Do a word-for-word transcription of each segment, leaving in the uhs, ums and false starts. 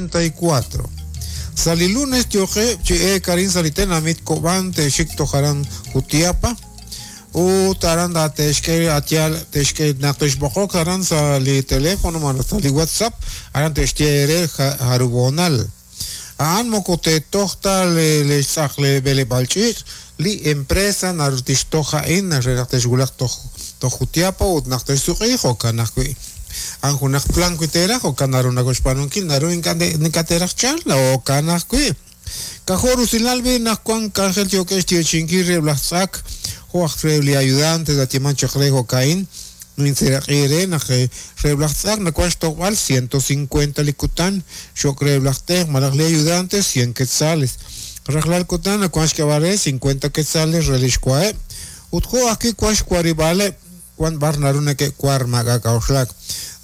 ochenta y cuatro. Sali lunes tioqe chi e karin salitenamit Cobán te xik tojaran Jutiapa u taranda texke atial texke naqtexboqok aran sali teléfono man sali WhatsApp aran textiere harubonal aan mokote tohta le le le belebalchich li empresa nartixtoja in nartexgulaq toj Jutiapa ut naqtexsuqij o kanajwi an junaq plan kuiteraj o kanarunakoxpanunkil naru inkateraj chal o kanajwi kajoru sinalbi najkuan kanjel tiokex tiochinkir reblajtzak joaj rebli ayudante da timan chaqrejo kain ninseraqire naj reblajtzak nakuan xtoqb'al ciento cincuenta likutan xok reblajtej malaj li ayudante cien quetzales rajlal kutan nakuan xkabare cincuenta quetzales relixkuae ut joaj ki kuan xkuaribale kuan bar narune ke kuar magakauxlak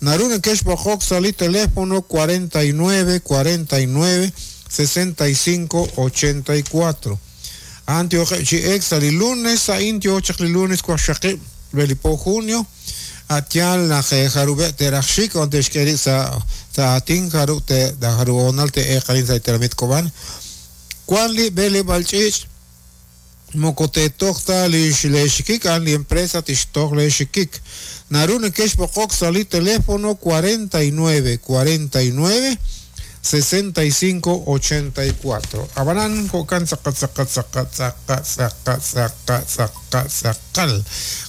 narune kex bojok sali teléfono cuarenta y nueve cuarenta y nueve sesenta y cinco ochenta y cuatro Antioche chi ex sali lunes a intio chakli lunes kuaxaqi belipo junio atial na jarube terachik onde xkeri sa sa atin jaru te da jaru onal te e qalin sa teramit Cobán kuan li bele balchich mokote tohta li xlexikik an li empresa tixtoj lexikik narune kex bojok sali teléfono cuarenta y nueve cuarenta y nueve sesenta y cinco ochenta y cuatro. Abanan jokan zakat zakat zakat zakat zakat zakat zakat zakal.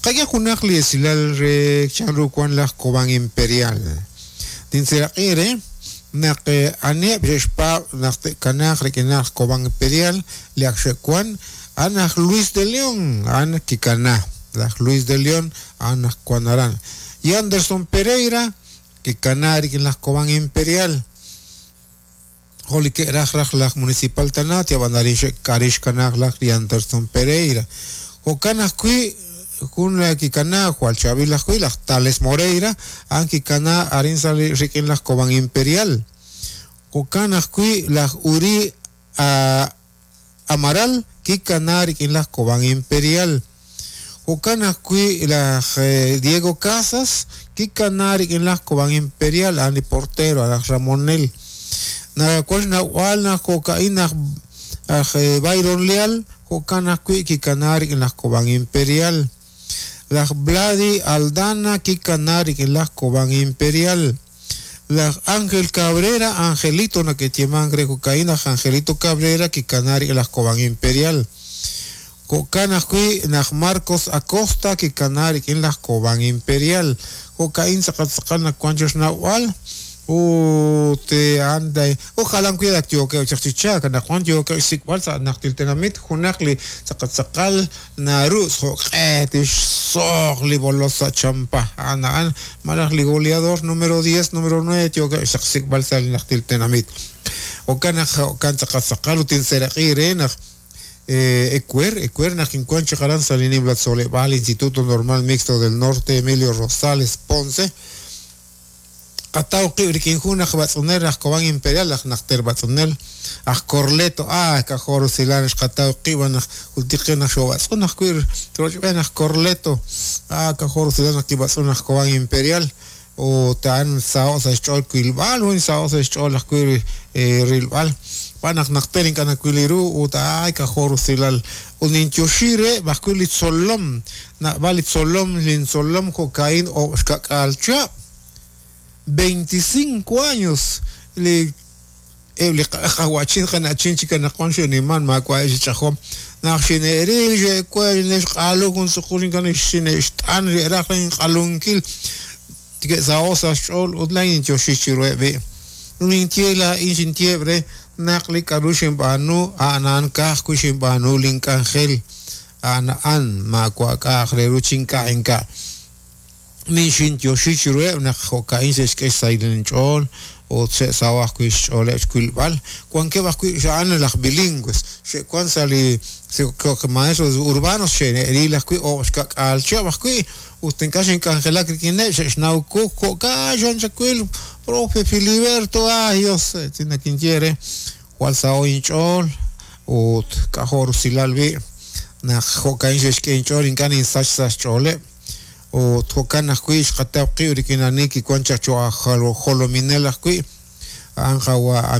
Kaya junaq li esilal re chanru kuan laj Cobán Imperial. Dinseraqire naq anieb xexpa naq kanaq rekinaj Cobán Imperial li akxekuan anaj Luis de León an kikana laj Luis de León anaj kuanaran y Anderson Pereira kikana rikin laj Cobán Imperial. Joli que raj raj laj municipal tanat ya bandarin karish kanaj laj y Anderson Pereira. Jokanaj kui kun la kikana Juan Chavi laj kui laj Tales Moreira an kikana arin sali rikin laj Cobán Imperial. Jokanaj kui laj Uri a, Amaral kikana rikin laj Cobán Imperial. Jokanaj kui laj eh, Diego Casas kikana rikin laj Cobán Imperial ani portero laj Ramonel. Na cual na wal na cocaína Byron Leal jocana kui kikanari en las Cobán Imperial las Vladi Aldana kikanari en las Cobán Imperial las Ángel Cabrera Angelito na que tiemangre cocaína Angelito Cabrera kikanari en las Cobán Imperial cocana kui na Marcos Acosta kikanari en las Cobán Imperial cocaína sacatzakal na cuanchos na wal o te anda ojalá cuida tío que chachicha kana Juan tío que sikbal sa naqtiltenamit junaqli saqatsaqal narus joq'et soqli bolosa champa ana an malaqli goleador número diez número nueve tío que sikbal sa naqtiltenamit o kana kan saqatsaqal utin seraqire naq Ecuer, Ecuer, Naquincuancho, Jaran, Salini, Blatzoleval, Instituto Normal Mixto del Norte, Emilio Rosales Ponce. Qataw qibri kinjuna batz'unel aj Cobán Imperial aj naqter batz'unel aj Corleto ah kajor silan qataw qiban aj jultiqin aj xobatz'un aj kuir trochben aj Corleto ah kajor silan aj kibatz'un aj Cobán Imperial o tan sao sa xch'ol kuilb'al un sao sa xch'ol aj kuir rilb'al pan aj naqter ink'an kuiliru u ta ay kajor silal uninchoxire baj kuil tzolom na bali tzolom lin tzolom cocaín o xkak'alcha veinticinco años le le qawachin qanachin chikanaqwan xiniman makwa xichajom naq xineril xekwel nexq'alu jun suqulin kan xinext'an ri'raq q'alunkil tike'saosa xch'ol utlain choxichiruebi nintiela inxintiebre naqli k'aru xinb'anu a'nan kaj ku xinb'anu link'anjel a'na'an makwa k'aj reru chinka' inka' Ninxintioxichirueb naq jo'ka'in xe'xk'ex saylinch'ool o xe'sawaj kuy xch'ooleb xkuilb'al kuankeb ajwi' xa'an laj bilingües xe'kuan sa li maestros urbanos xe'ril ajwi' o xkak'alchab ajwi' ut ink'a' xink'anjelak rik'ineb xe'xnawku jo'ka' xanchakuil profe Filiberto ay Dios tinakinchiere jwal sa'o inch'ool ut k'ajor usilal bi' naq jo'ka'in xe'xk'e inch'ool ink'a' ninsach sa xch'ooleb o tokan ajwi' xqataw qib' rik'in anik kikuan chaq cho jolominel ajwi' anjawa